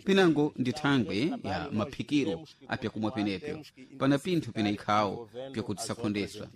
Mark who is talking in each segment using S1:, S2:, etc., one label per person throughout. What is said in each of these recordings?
S1: Pinango ndi thangwe ya maphikiro apyakumwa penepyo pana pinthu pina ikhawo pyakuti tisakhondeswa.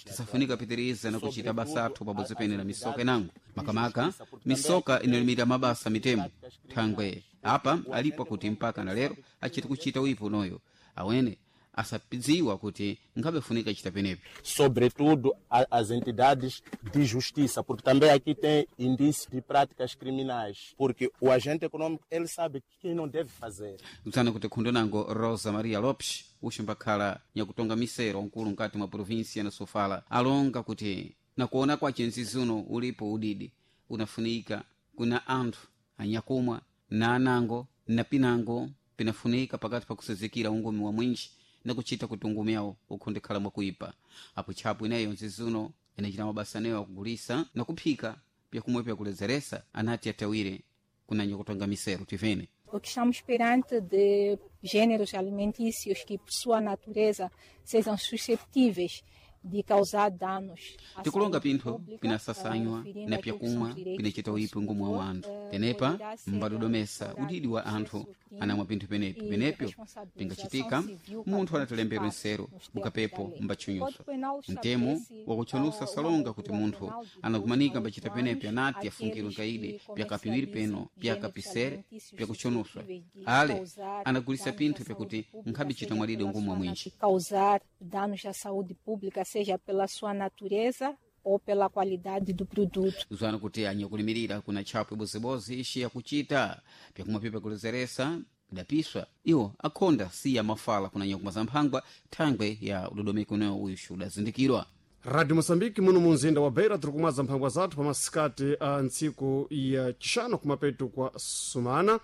S1: Tisafunika pitiriza na kuchita basa athu pabodzi pene na misoka inango, makamaka misoka inalimira mabasa mitemo. Thangwe apa alipo kuti mpaka na lero achiti kuchita wipo unoyo awene asapidziwa kuti nkhabe funika chita penepo.
S2: Sobretudo as entidades de justiça, porque também aqui tem indício de práticas criminais, porque o agente econômico, ele sabe que não deve fazer.
S1: Kutsana kuti khundo nango Rosa Maria Lopes uximbakhala nyakutonga misero nkulu nkati mwa província na Sofala alonga kuti nakuona kwace nzizuno ulipo udidi unafunika kuna anthu anyakumwa na anango na pinango pinafunika pakati pakusezekera ungumi wa mwinji nakuchita kuti ungumi awo ukhondekhala mwakuipa. Apo tchapo ineyo nzizuno inachita mabasa aneyo akugulisa nakuphika pyakumwe pyakulezeresa anati atawire kuna nyakutonga misero tivene.
S3: O que estamos perante de gêneros alimentícios que, por sua natureza, sejam susceptíveis de causar danos à
S1: Tikulonga
S3: saúde
S1: pinthu
S3: pública,
S1: pinasasanywa
S3: referindo
S1: na
S3: aquilo que são
S1: pyakumwa
S3: direitos
S1: pinachita
S3: do
S1: uipi ngumu wa
S3: consumidor,
S1: anthu. Tenepa
S3: poderá ser
S1: mbadodomesa
S3: instaurado
S1: udidi wa anthu
S3: processo crime
S1: anamwa pinthu penepi
S3: e
S1: penepyo
S3: responsabilização
S1: pingachitika
S3: civil
S1: munthu
S3: para
S1: anatelembedwa
S3: todos os
S1: nsero
S3: partes nos termos da
S1: bukapepo
S3: lei.
S1: mbatchunyuso.
S3: Código Penal
S1: Mtemo
S3: estabelece
S1: wakuchonusa
S3: uma
S1: salonga kuti
S3: abertura
S1: munthu
S3: penal de 2 a
S1: anakumanika
S3: 8
S1: mbachita penepi
S3: anos
S1: anati afungirwe
S3: àqueles
S1: nkaide
S3: que
S1: pyakapiwiri peno
S3: comercializem gêneros
S1: pyakapisere
S3: alimentícios
S1: pyakuchonuswa
S3: suscetíveis de
S1: ale
S3: causar
S1: anagulisa
S3: danos à
S1: pinthu
S3: saúde
S1: pyakuti
S3: pública,
S1: nkhabichita
S3: seja
S1: mwalide
S3: pela
S1: ngumu wa
S3: sua
S1: mwinji.
S3: causar danos à saúde pública, seja pela sua natureza ou pela qualidade do produto.
S1: Zwana kuti anyakulimirira kuna tchapo ibozibozi ixi yakuchita pyakumwa pipa kulezeresa pidapiswa iwo akhonda siya mafala kuna nyakumwa za mphangwa thangwe ya udodomeko unewo uyuxu udazindikirwa.
S4: Radio Moçambique, muno mu mzinda wa Beira, tiri kumwaza mphangwa zathu pa masikati a ntsiku ya chixano kumapeto kwa sumana.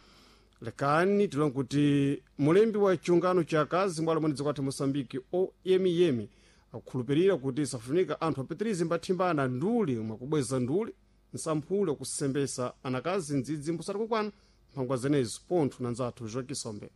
S4: Lekani tilonga kuti mulembi wa chiungano cha akazi mbwalo mwene dziko athu Moçambique OMM akukhulupirira kuti safunika anthu apitirize mbathimbana nduli mwakubweza nduli nsamphule kusembesa anakazi ndzidzi mbusati kukwana mphangwa zenezo pontho na nzathu Joaquim.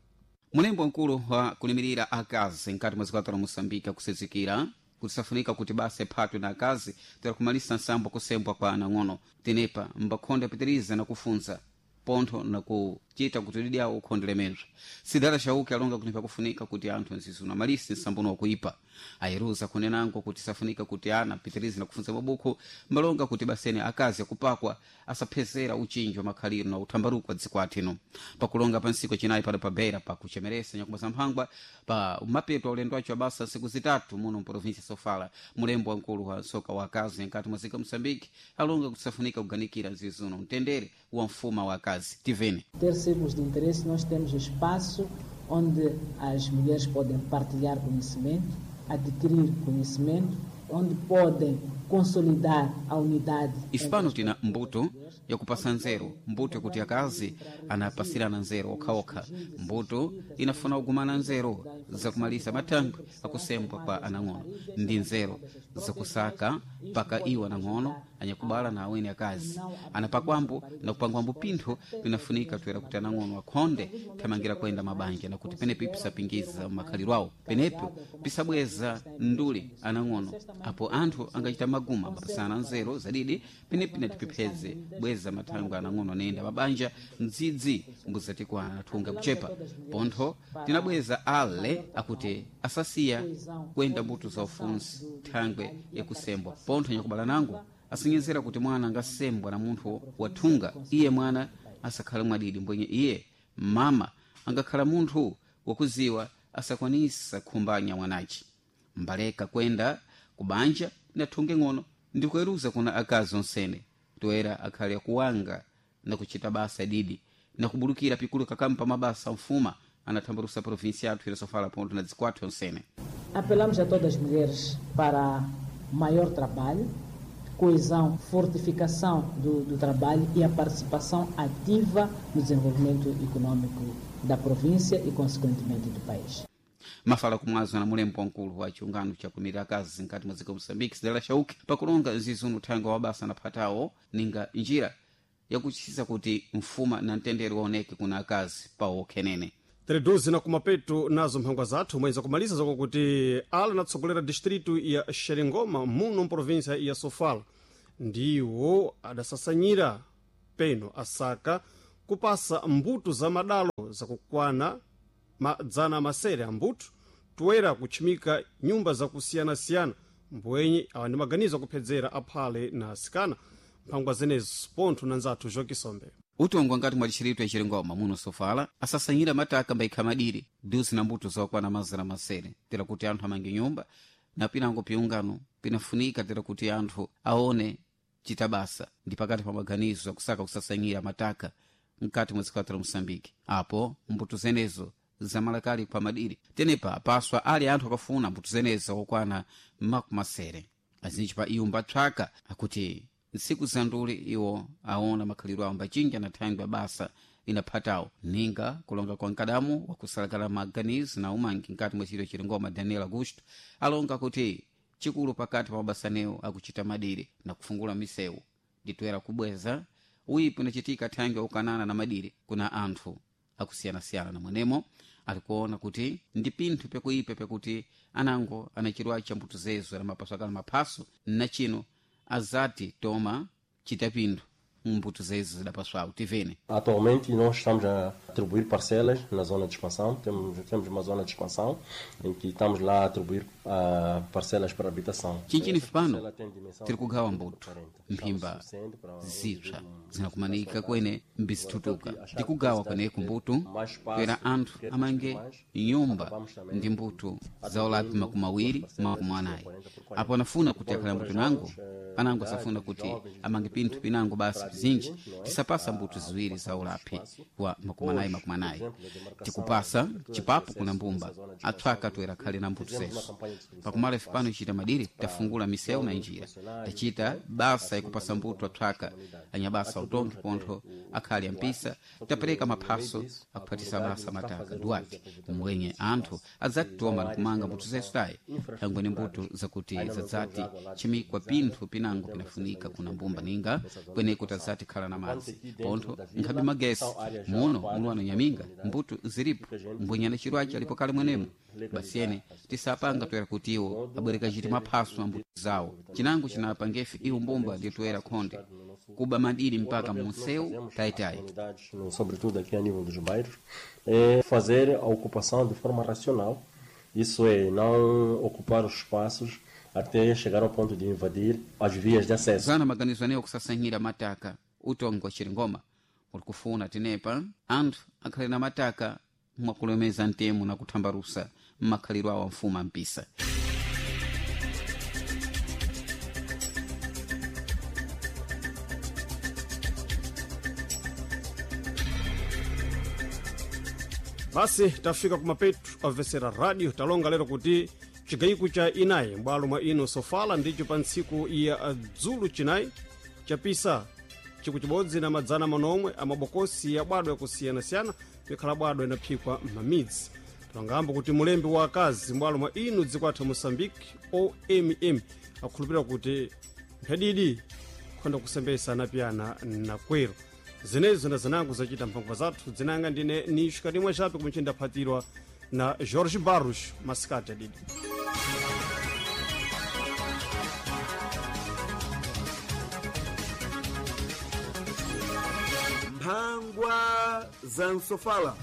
S1: Mulembo mkulu wa kulimirira akazi nkati mwa dziko la Moçambique akusezekera kuti safunika kuti basa iphatwe na akazi tera kumalisa nsambo kusembwa kwa anang'ono. Tenepa mbakhonde apitiriza na kufunza pontho nakuchita kuti udidi awo ukhondelemezwa. Sidala Chauke alonga kuti pakufunika kuti anthu nzizuna amalise nsambono wakuipa. Ayeruza kunenango kuti safunika kuti ana apitirize na kufunza mabukhu mbalonga kuti basene akazi akupakwa asaphezera uchinji wa makhaliro na uthambaruko wa dziko athino. Pakulonga pa ntsiku chinayi pano pa Beira pakuchemeresa nyakumba za mphangwa pa mapeto a ulendo wacho wabasa ntsiku zitatu muno mprovinsia Sofala, mulembo wamkulu wa soka wa akazi nkati mwa dziko Moçambique alonga kuti safunika kuganikira nzizuno mtendere wa mfuma wa akazi. Tivene.
S5: Ter círculos de interesse, nós temos espaço onde as mulheres podem partilhar conhecimento, adquirir conhecimento, onde podem consolidar a unidade.
S1: Isipano tina mbuto yakupasa nzeru, mbuto yakuti akazi anapasirana nzeru okhaokha. Mbuto inafuna kugumana nzeru zakumalisa mathangwe akusembwa kwa anang'ono ndi nzeru zakusaka paka iwo anang'ono anyakubala na awene akazi anapakwambo na kupangwambo pinthu pinafunika toera kuti anang'ono akhonde thamangira kuyenda mabanja nakuti penepo pisapingiza makhaliro awo, penepo pisabweza nduli anang'ono apo anthu angachita maguma mapasana nzeru zadidi penepi natiphepheze bweza mathangwe anang'ono anayenda mabanja mdzidzi mbuzatikwana athunga kuchepa. Pontho tinabweza ale akuti asasiya kuyenda mbuto za ufunsi thangwe yakusembwa. Pontho nyakubala nango asinyezera kuti mwana angasembwa na munthu wathunga iye mwana asakhala mwadidi mbwenye iye mama angakhala munthu wakuziwa asakwanisa khumbanya mwanachi mbaleka kwenda kubanja nathunge ng'ono ndikuweruza kuna akazi onsene toera akhale akuwanga na kuchita basa didi na kubulukira pikulu kakampa mabasa mfuma anathambalusa provinsi yathu ilosofala ponto na dziko athu onsene.
S5: Apelamos a todas as mulheres para maior trabalho, coesão, fortificação do trabalho e a participação ativa no desenvolvimento econômico da província e, consequentemente, do país.
S1: Mafala kumwazo na mulembo wamkulu wa chiungano chakumira akazi nkati mwa dziko Moçambique Sidala Chauke pakulonga nzizunu thanga wa basa naphatawo ninga njira yakuchisa kuti mfuma na mtendere waoneke kuna akazi pawo khenene.
S4: Tereduzi na kumapeto nazo mphangwa zathu mwenza kumaliza zakokuti ala natsogolera distritu ya Xerengoma muno mprovinsia ya Sofala ndiwo adasasanyira peno asaka kupasa mbuto za madalo. zakukwana madzana masere ambuto toera kutchimika nyumba zakusiyanasiyana mbwenye awa ndi maganizo akuphedzera aphale na asikana mphangwa zenezo pontho na nzathu jokisombe
S1: utongwa ngati mwatchiritwe chilingoma muno sofala asasanyira mataka mbaikha madiri duzi na mbuto zokwana mazana masere tera kuti anthu amange nyumba na pinango piungano pinafunika tera kuti anthu aone chitabasa ndi pakati pa maganizo akusaka kusasanyira mataka mkati mwa dziko la moçambique apo mbuto zenezo zamalakali kwa madiri tenepa paswa ali anthu akafuna mbuto zenezo okwana makumasere azinji pa iwo mbatsvaka akuti ntsiku zanduli iwo aona makhalidwe awo mbachinja na thangwi basa inaphatawo ninga kulonga kwa mkadamu wakusalakala maganizo na umangi mkati mwa chiro chilingoma daniel augusto alonga kuti chikulu pakati pa mabasanewo akuchita madiri na kufungula misewu nditoera kubweza uipi unachitika thangwi ukanana na madiri kuna anthu akusiyanasiyana na mwenemo alikuona kuti ndi pinthu pyakuipa pyakuti anango anachirwa cha mbuto zezo na mapaso akala maphaso na chino azati toma chita pinthu mbuto zezo zidapaswawo tivene
S6: Atualmente nós estamos a atribuir parcelas na zona de expansão, temos uma zona de expansão em que estamos lá a atribuir parcelas para habitação.
S1: Chinchini
S6: Essa
S1: fipano
S6: parcela tem dimensão
S1: tiri
S6: de
S1: kugawa
S6: 20 por
S1: mbuto
S6: 40.
S1: mphimba
S6: Estamos suficiente para um
S1: zipsa
S6: indivíduo
S1: zinakumanika kwene mbizitutuka ndikugawa kweneku mbuto kwera anthu amange nyumba ndi mbuto za ulapi makumi awiri makumi anayi apo anafuna kuti akhale mbuto nango anango asafuna kuti amange pinthu pinango basi pizinji tisapasa mbuto ziwiri za ulapi wa makumi anayi makumi anayi tikupasa chipapo kuna mbumba atswaka toera khale na mbuto zeso pakumala ife pano ichita madiri tafungula misewu na njira tachita basa ikupasa mbuto atswaka anyabasa utongi pontho akhali ampisa tapereka maphaso akuphatisa basa mataka duati mwenye anthu adzatitoma nakumanga mbuto zesu tayi thangwe ni mbuto zakuti zadzati chimikwa pinthu pinango pinafunika kuna mbumba ninga kweneko tazati khala na madzi pontho nkhabe magesi muno muluwana nyaminga mbuto zilipo mbwenyana chirwachi alipo kale mwenemo basiyene tisapanga toera kuti iwo abwereka chiti maphaso a mbuto zawo chinango chinapangefe iwo mbumba ndi toera khonde kuba madiri mpaka munsewu tayitayi
S6: comunidades, sobretudo aqui a nível dos bairros, é fazer a ocupação de forma racional. Isso é, não ocupar os espaços até chegar ao ponto de invadir as vias de acesso.
S1: zana maganizo anewo kusasanyira mataka utongi wa chiringoma uli kufuna tenepa anthu akhale na mataka mwakulemeza mtemo na kuthambalusa mmakhalidwe awo amfumu ampisa
S4: Basi tafika kumapetu amvesera radio talonga lero kuti chigayiko cha inayi m'bwalo mwa ino sofala ndicho pa ntsiku ya dzulu chinayi chapisa chiku chibodzi na madzana manomwe amabokosi ya bwado yakusiyanasiyana mikhala bwado inaphikwa m'mamidzi talongambo kuti mulembi wa akazi m'bwalo mwa ino dziko athu moçambique omm akhulupirira kuti mphadidi khonda kusembesa anapiyana nakwero zinezo na zinango zachita mphangwa zathu dzinanga ndine nishika limwe chape kumene ndaphatirwa na Jorge Barros masikati adidi.
S7: Mphangwa za Nsofala.